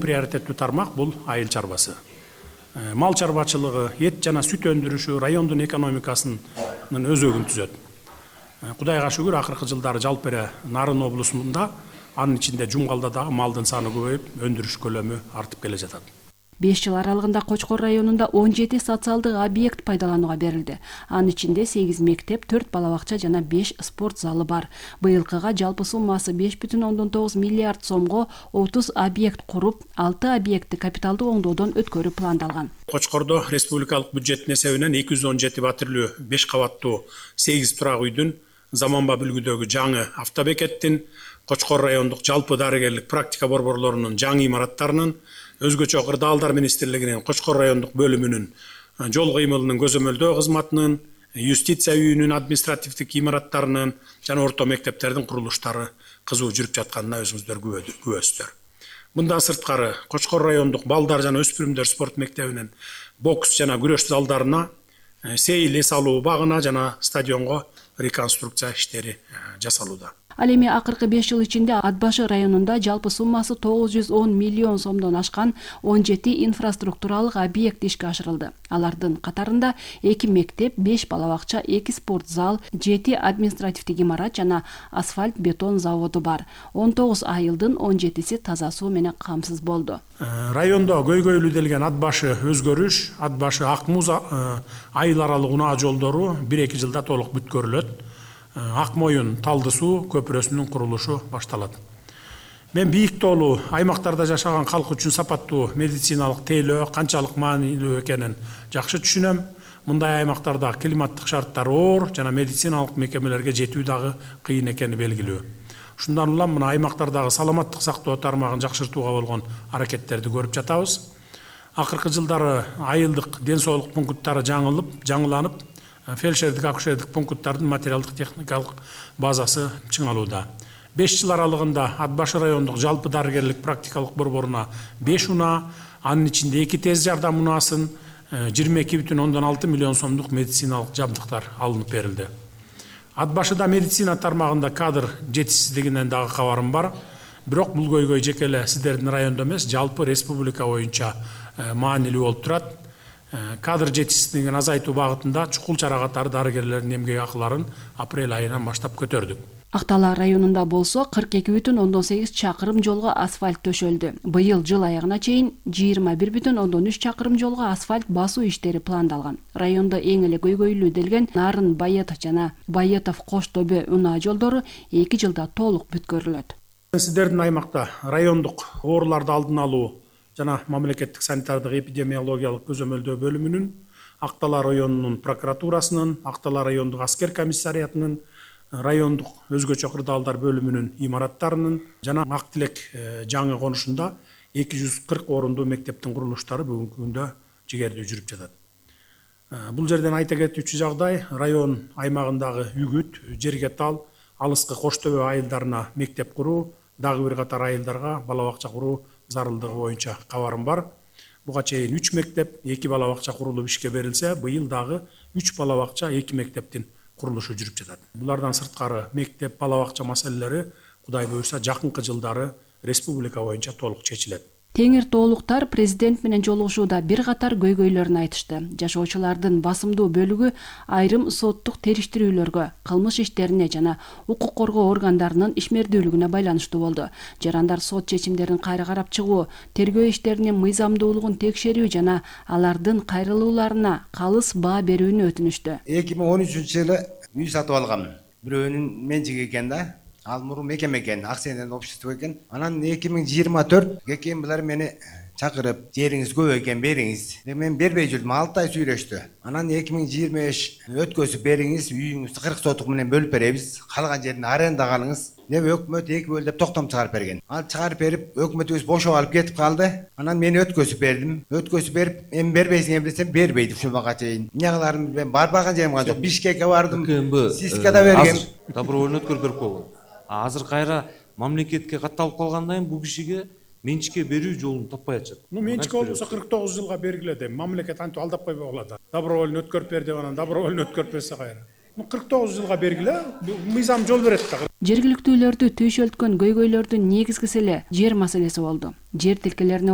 Приоритеттүү тармак бул айыл чарбасы. Мал чарбачылыгы, эт жана сүт өндүрүшү райондун экономикасынын өзөгүн түзөт. Кудайга шүгүр, акыркы жылдары жалпы эле Нарын облусунда, анын ичинде Жумгалда дагы малдын саны көбөйүп, өндүрүш көлөмү артып келе жатат. 5 жыл аралыгында Кочкор районунда 17 социалдык объект пайдаланууга берилди. Анын ичинде 8 мектеп, 4 балабакча жана 5 спорт залы бар. Быйылкыга жалпы суммасы 5,9 миллиард сомго 30 объект куруп, 6 объектти капиталдуу оңдоодон өткөрүү пландалган. Кочкордо республикалык бюджеттин эсебинен 217 батирлүү 5 кабаттуу 8 турак үйдүн заманбап үлгүдөгү жаңы автобекеттин, Кочкор райондук жалпы дарыгерлик практика борборлорунун жаңы имараттарынын, өзгөчө кырдаалдар министрлигинин Кочкор райондук бөлүмүнүн жол кыймылынын көзөмөлдөө кызматынын, юстиция үйүнүн административдик имараттарынын жана орто мектептердин курулуштары кызуу жүрүп жатканына өзүңүздөр күбөсүздөр. Мындан сырткары Кочкор райондук балдар жана өспүрүмдөр спорт мектебинин бокс жана күрөш залдарына, сейил эс алуу багына жана стадионго реконструкция иштери жасалууда. Ал эми акыркы 5 жыл ичинде Ат башы районунда жалпы суммасы 910 миллион сомдон ашкан 17 инфраструктуралык объект ишке ашырылды. Алардын катарында 2 мектеп, 5 балабакча, 2 спорт зал, 7 административдик имарат жана асфальт бетон заводу бар. 19 айылдын 17си таза суу менен камсыз болду. Райондо көйгөйлүү Ат башы өзгөрүш, Ат башы Ак Муз айыл аралык унаа жолдору 1-2 жылда толук бүткөрүлөт. Ак Моюн Талды суу көпүрөсүнүн курулушу башталат. Мен бийик тоолуу аймактарда жашаган калк үчүн сапаттуу медициналык тейлөө канчалык маанилүү экенин жакшы түшүнөм. Мындай аймактарда климаттык шарттар оор жана медициналык мекемелерге жетүү дагы кыйын экени белгилүү. Ушундан улам мына аймактардагы саламаттык сактоо тармагын жакшыртууга болгон аракеттерди көрүп жатабыз. Акыркы жылдары айылдык ден соолук пункттары жаңыланып, фельдшердик акушердик пункттардын материалдык техникалык базасы чыңалууда. 5 жыл аралыгында Ат башы райондук жалпы дарыгерлик практикалык борборуна 5 унаа, анын ичинде 2 тез жардам унаасын, 22,6 миллион сомдук медициналык жабдыктар алынып берилди. Ат башыда медицина тармагында кадр жетишсиздигинен дагы кабарым бар. Бирок бул көйгөй жеке эле сиздердин райондо эмес, жалпы республика боюнча маанилүү болуп турат. Кадр жетишсиздигин азайтуу багытында чукул чара катары дарыгерлердин эмгек акыларын апрель айынан баштап көтөрдүк. Актала районунда болсо 42,8 чакырым жолго асфальт төшөлдү. Быйыл жыл аягына чейин 21,3 чакырым жолго асфальт басуу иштери пландалган. Райондо эң эле көйгөйлүү делген Нарын Байетов жана Байетов Кош Төбө унаа жолдору 2 жылда толук бүткөрүлөт. Сиздердин аймакта райондук ооруларды алдын алуу жана мамлекеттик санитардык эпидемиологиялык көзөмөлдөө бөлүмүнүн, Актала районунун прокуратурасынын, Актала райондук аскер комиссариятынын, райондук өзгөчө кырдаалдар бөлүмүнүн имараттарынын жана Ак Тилек жаңы конушунда 240 орундуу мектептин курулуштары бүгүнкү күндө жигердүү жүрүп жатат. Бул жерден айта кетүүчү жагдай, район аймагындагы Үгүт, Жергетал, алыскы Кош Төбө айылдарына мектеп куруу, дагы бир катар айылдарга балабакча куруу зарылдыгы боюнча кабарым бар. Буга чейин 3 мектеп, 2 балабакча курулуп ишке берилсе, быйыл дагы 3 балабакча, 2 мектептин курулушу жүрүп жатат. Булардан сырткары мектеп, балабакча маселелери Кудай буйрса жакынкы жылдары республика боюнча толук чечилет. Теңир тоолуктар президент менен жолугушууда бир катар көйгөйлөрүн айтышты. Жашоочулардын басымдуу бөлүгү айрым соттук териштирүүлөргө, кылмыш иштерине жана укук коргоо органдарынын ишмердүүлүгүнө байланыштуу болду. Жарандар сот чечимдерин кайра карап чыгуу, тергөө иштеринин мыйзамдуулугун текшерүү жана алардын кайрылууларына калыс баа берүүнү өтүнүштү. 2013 жылы үй сатып алгам. Бирөөнүн менчиги экен да. Ал мурун мекеме экен, акционерлер общество экен. Анан 2024 экен булар мени чакырып, жериңиз көп экен бериңиз. Мен бербей жүрдүм, 6 ай сүйлөштү. Анан 2025 өткөзүп бериңиз, үйүңүздү 40 сотук менен бөлүп беребиз. Калган жерин арендага алыңыз. Өкмөт 2 бөл деп токтом чыгарып берген. Ал чыгарып берип, өкмөтүбүз бошоп алып кетип калды. Анан мени өткөзүп бердим. Өткөзүп берип, эми бербейсиң десем бербейди ушунга чейин. Эмне мен барбаган жерим жок. Бишкекке бардым. Сискада бергем. Добровольно өткөрүп берип койгон. Азыр кайра мамлекетке катталып калгандан кийин бул кишиге менчикке берүү жолун таппай атышат. Менчик болбосо 49 жылга бергиле дейм. Мамлекет антип алдап койбой калат. Добровольно өткөрүп бер деп анан добровольно өткөрүп берсе кайра. 49 жылга бергиле мыйзам жол берет да. Жергиликтүүлөрдү түйшөлткөн көйгөйлөрдүн негизгиси эле жер маселеси болду. Жер тилкелерине